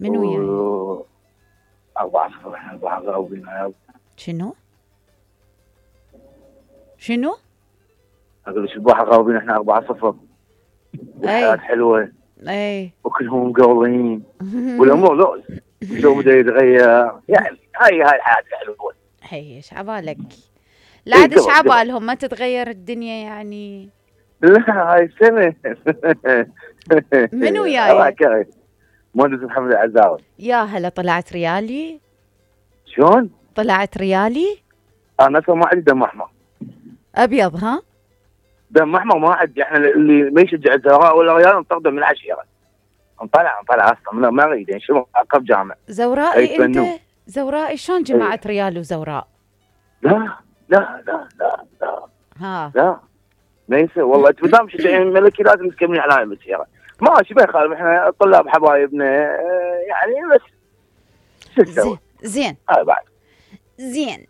من وياي؟ 4-0 احنا 4 غاوبين. شنو؟ اقول لك البارحة غاوبين احنا 4-0. والحياة حلوة. اي وكلهم مقولين. والامور شو بده يتغير يعني. هاي الحياة حلوة. هي ايش عبالك؟ لا عاد ايش عبالهم ما تتغير الدنيا يعني. لا هاي السنة. من وياي؟ مهندس محمد العزاوي. يا هلا طلعت ريالي؟ شلون؟ طلعت ريالي؟ انا ما عندي دم احمر. ابيض ها؟ دم احمر ما عندي. احنا اللي ما يشجع الزهراء ولا ريال نطرده من العشيرة. نطلع اصلا ما اريد يعني شو عقب جامع. زورائي انت؟ زورائي شلون جماعة ريال وزوراء؟ لا لا لا لا لا ها لا ما يصير والله. انت بدام مشجعين الملكي لازم تكملين على هاي المسيرة. ماشي ما يخالف احنا طلاب حبايبنا يعني بس شو تسوي؟ زين هاي بعد زين.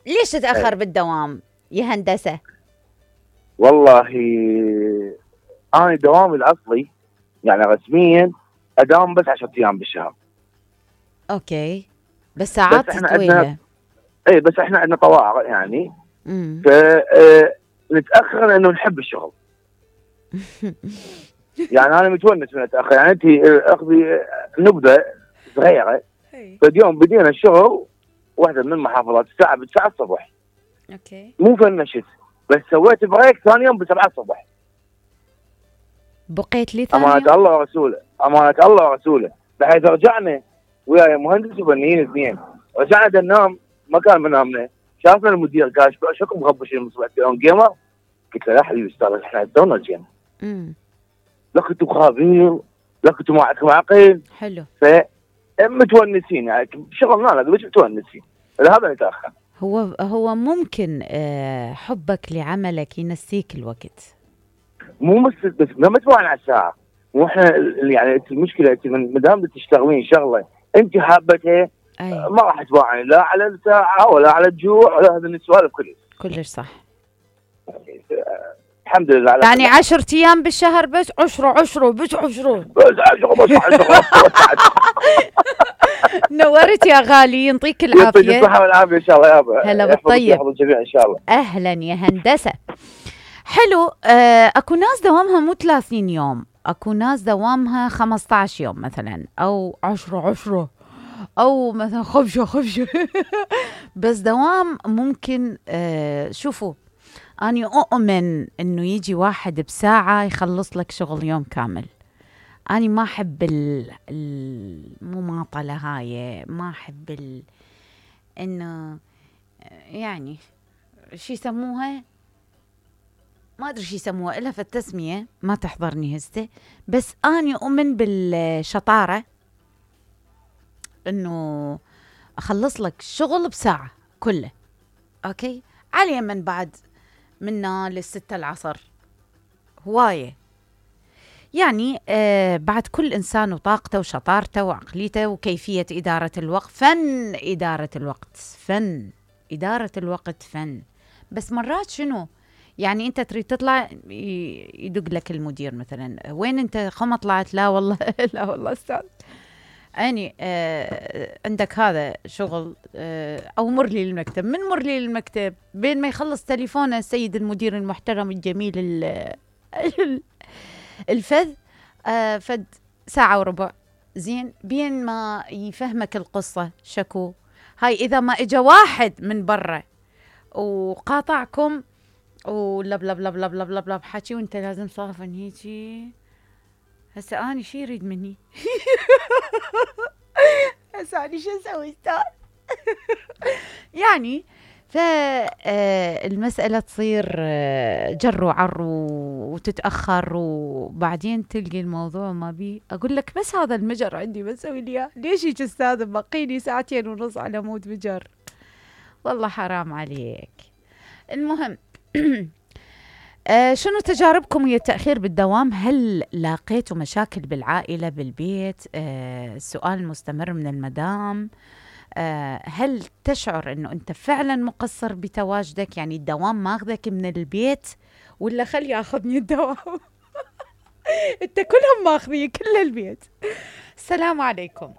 ليش تتأخر بالدوام يا هندسة؟ والله انا دوامي الاصلي يعني رسميا اداوم بس 10 ايام بالشهر. اوكي بس ساعات طويلة. اي بس احنا عندنا طوارئ يعني. ف نتاخر لانه نحب الشغل. يعني انا متونس من اتاخر. يعني انت اخذي نبذه صغيره. فاليوم بدينا الشغل واحده من المحافظات الساعه 9 الصبح. اوكي مو فنشت بس سويت بريك ثاني يوم ب7 الصبح. بقيت لي ثاني امانه الله ورسوله بحيث رجعنا ويا مهندس وفنيين اثنين. رجعنا ننام ما كان منامنا. شافنا المدير قال شكو مغبشين من صبح يوم جيمر. قلت له لا حبيبي استاذ احنا تونا جينا. لا كنتوا خابين لا كنتوا معكم عقل. حلو. متونسين يعني شغلنا لا مش متونسين. هذا نتاخر. هو ممكن حبك لعملك ينسيك الوقت. مو بس ما متوعن على الساعه. مو احنا يعني المشكله انت ما دام تشتغلين شغله انت حابتها ما راح توعي لا على الساعه ولا على الجوع ولا هذه السوالف كلش صح. الحمد لله على يعني 10 ايام بالشهر بس 10 بس 10 نورت يا غالي يعطيك العافيه. يعطيك الصحه والعافيه ان شاء الله يابا. هلا بالطيب. يحفظ الجميع ان شاء الله. اهلا يا هندسه. حلو. اكو ناس دوامها مو 30 يوم. اكو ناس دوامها 15 يوم مثلا او 10 او مثلا خفشه بس دوام ممكن. شوفوا أنا أؤمن إنه يجي واحد بساعة يخلص لك شغل يوم كامل. أنا ما أحب المماطلة هاي. ما أحب إنه يعني شي يسموها ما أدري شي يسموها إلا في التسمية ما تحضرني هسه. بس أنا أؤمن بالشطارة إنه أخلص لك شغل بساعة كله. أوكي على اليمن بعد منا ل6 العصر هواية يعني. بعد كل إنسان وطاقته وشطارته وعقليته وكيفية إدارة الوقت. فن إدارة الوقت فن. بس مرات شنو يعني أنت تريد تطلع يدق لك المدير مثلا وين أنت خما طلعت. لا والله لا والله أستاذ يعني عندك هذا شغل أو مر لي المكتب. من مر لي المكتب بين ما يخلص تليفونه السيد المدير المحترم الجميل الفذ فد ساعة وربع. زين بين ما يفهمك القصة شكو هاي. إذا ما إجا واحد من برا وقاطعكم ولب لب لب لب لب لب لب حكي وانت لازم صافن هيجي. هسه أنا شي يريد مني هسه أنا شو أسوي استاذ يعني. فالمسألة تصير جر وعر وتتأخر وبعدين تلقي الموضوع ما بي. أقول لك بس هذا المجر عندي بسوي لي إياه. ليش هيك أستاذ بقيني 2.5 ساعات على مود مجر. والله حرام عليك. المهم شنو تجاربكم ويا التأخير بالدوام؟ هل لاقيتوا مشاكل بالعائلة بالبيت؟ السؤال المستمر من المدام. هل تشعر انه انت فعلا مقصر بتواجدك؟ يعني الدوام ماخذك من البيت ولا خلي ياخذني الدوام انت كلهم ماخذي كل البيت. السلام عليكم.